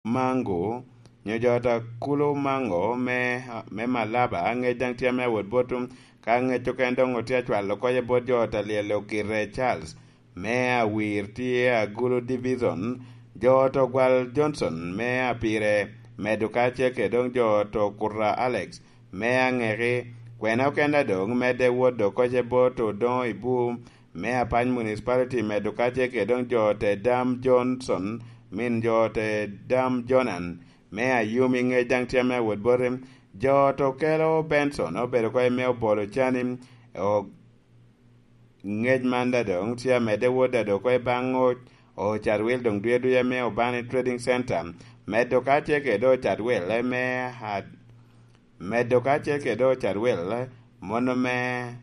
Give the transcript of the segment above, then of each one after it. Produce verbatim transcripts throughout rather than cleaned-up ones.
Mango, nyo jo ot a Kulu Mango me, me Malaba, ŋec daŋ tye ame awot bot, ka ŋec okene doŋ otye acwalo kocce bot jo ot a Lyel Okite Charles, me Awir tye Agulu Division, jo ot Ogwal Johnson me Apire, medo kacel kede doŋ jo ot Okuta Alex me Aŋeki, kwena okene doŋ medde wot dok kocce bot Odoŋo Ibu, me Apany Municipality, medo kacel kede doŋ jo ot Edam Johnson, min jo ot Edam Jonan, me Ayumi, ŋec daŋ tye ame awot boti. Jo ot Okelo Benson obedo oko i me Obolo Cani, o-, ŋec man daŋ doŋ tye amedde wot daŋ oko i baŋ o-, Ocatwil doŋ duya duya me Obani Trading Center, medo kacel kede Ocatwil me a-, medo kacel kede Ocatwil mono me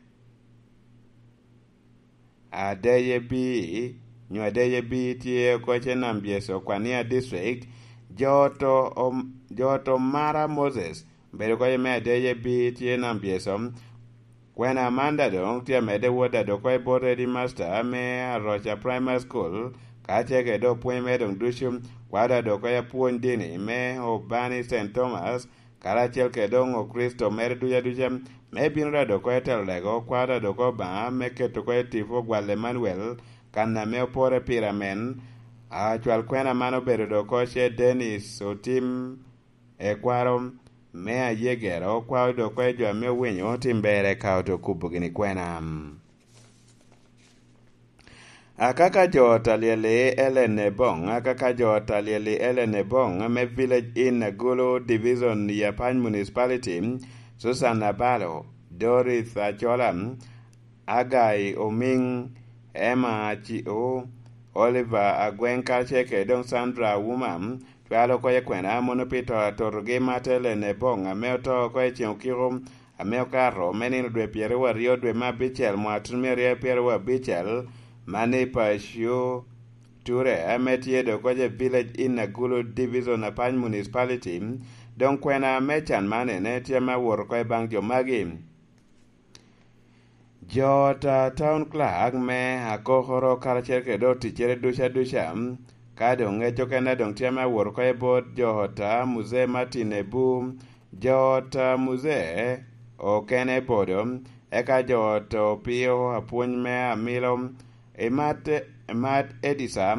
Adeyebi, nyo Adeyebi tye oko i Cen Ambyeso, Kwania District, jo ot om-, jo ot Omara Moses, bedo oko i me Adeyebi tye Nambyeso, kwena man daŋ doŋ tye amedde wot daŋ oko i bot Headmaster me Aroca Primary School, kacel kede doŋ pwony mere doŋ ducu, kwao daŋ oko i apwony dini me Obani Saint Thomas, karacel kede doŋ Okricito mere duca duca, me bino daŋ oko i telo lego, kwao daŋ oko Obaŋa me keto oko i tipo Ogwal Emmanuel, kan ame opore pire amen. Acwal kwena man obedo doŋ oko ce Dennis Otim, ekwaro me Ayegero, kwao doŋ oko i jo ame owinyo otim berre ka oto kubo gini kwena. Akaka jo ot a Lyel i Ellen Ebong, akaka jo ot a Lyel i Ellen Ebong me Village Inn Agulu Division i Apany Municipality, Susan Abalo, Doris Achola, Agai Omiŋ, Emma Aciu, Oliver Agweŋ kacel kede doŋ Sandra Awuma, cwalo oko i kwena mono pi to atotogi Martha Ellen Ebong ame oto oko i ceŋ okiko ame okato me nino dwe pyeraryo aryo dwe me abicel mwaka tutumia aryo pyeraryo abicel, man i Pacio Ture ame tye doŋ oko i Village Inn Agulu Division Apany Municipality. Doŋ kwena me can man ene tye ame awot oko i baŋ jo magi. Jo ot a Town Clerk me Akokoro karacel kede oticcere duca duca, ka doŋ ŋec okene doŋ tye ame awot oko i bot jo ot a Muzee Martin Ebu, jo ot a Muzee okene Bodo, eka jo ot Opio Apwony me Amilo, Imat, Imat Edisa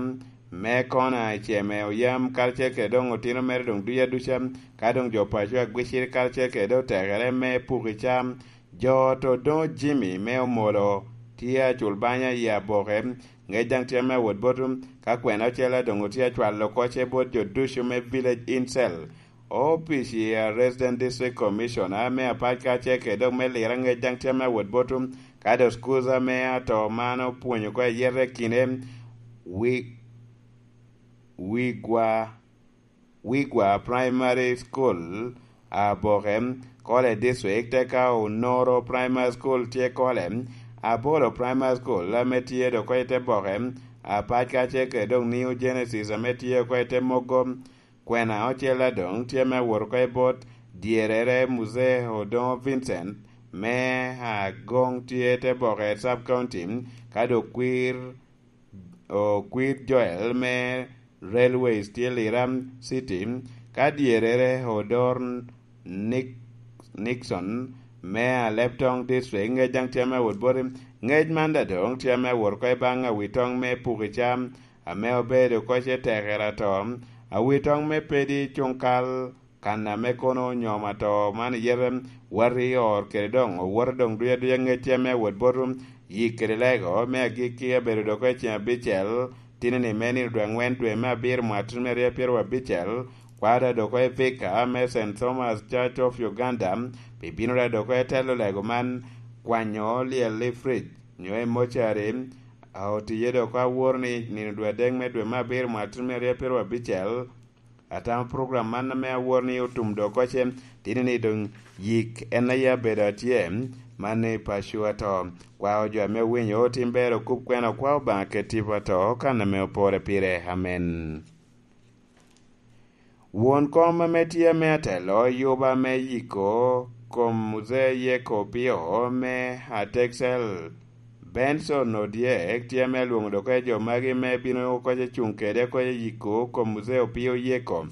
me Kona Iceme Oyam, karacel kede doŋ otino mere doŋ duca duca, ka doŋ jo paco Agwicir karacel kede otekere me Pukica, jo ot Odoŋo Jimmy me Omolo, tye acul banya i Aboke, ŋec daŋ tye ame awot bot, ka kwena ocele doŋ otye acwalo kocce bot jo ducu me Village Inn Cell, opic i a Resident District Commissioner me Apac kacel kede doŋ me Lira, ŋec daŋ tye ame awot bot, ka doŋ school ame ato man opwonyo oko ayete kine, wi-, Wigwa, Wigwa Primary School, Aboke, Kole District, eka Onoro Primary School tye Kole, Apollo Primary School ame tye doŋ oko i te Boke, Apac kacel kede doŋ New Genesis ame tye oko i te Mogo. Kwena ocel adoŋ tye me awot oko i bot dyerere Muzee Odoŋo Vincent me Agoŋ tye te Boke Sub County, ka doŋ kwir Okwir Joel me Railways tye Lira City, ka dyerere Odor Nick-, Nixon me Aleptong District, ŋec daŋ tye ame awot boti. Ŋec man daŋ doŋ tye ame awot oko i baŋ Awitoŋ me Pukica, ame obedo oko ce tekere ato, Awitoŋ me Pedi Cuŋkal, kan ame kono onyomo ato man i yete, wati i or kede doŋ owoto doŋ duya duya ŋecce me awot bot yik kede lego me agikki abedo doko i ceng abicel, tini-ni me nino dwe angwen dwe me abiro mwaka tutumia aryo pyeraryo abicel, kwao da doko i Vika me Saint Thomas Church of Uganda, pi bino da doko i telo lego man, kwanyo lyel i fridge nyo i mocari, a otiye doko aworo ni nino dwe adek me dwe me abiro mwaka tutumia aryo pyeraryo abicel, atamo program man ame aworo ni otum dok oce, tini ni doŋ yik en aye abedo atye, man ni paco ato. Kwao jo ame owinyo otim ber okub kwena okwao Obaŋa ket tipo ato kan ame opore pire. Amen. Won kom ame tye ame atelo yuba me yiko kom Muzee Yeko Opio me Atexel Benson Odyek tye ame alwoŋo dok oko jo magi me bino oko koc acuŋ kede oko i yiko kom Muzee Opio Yeko.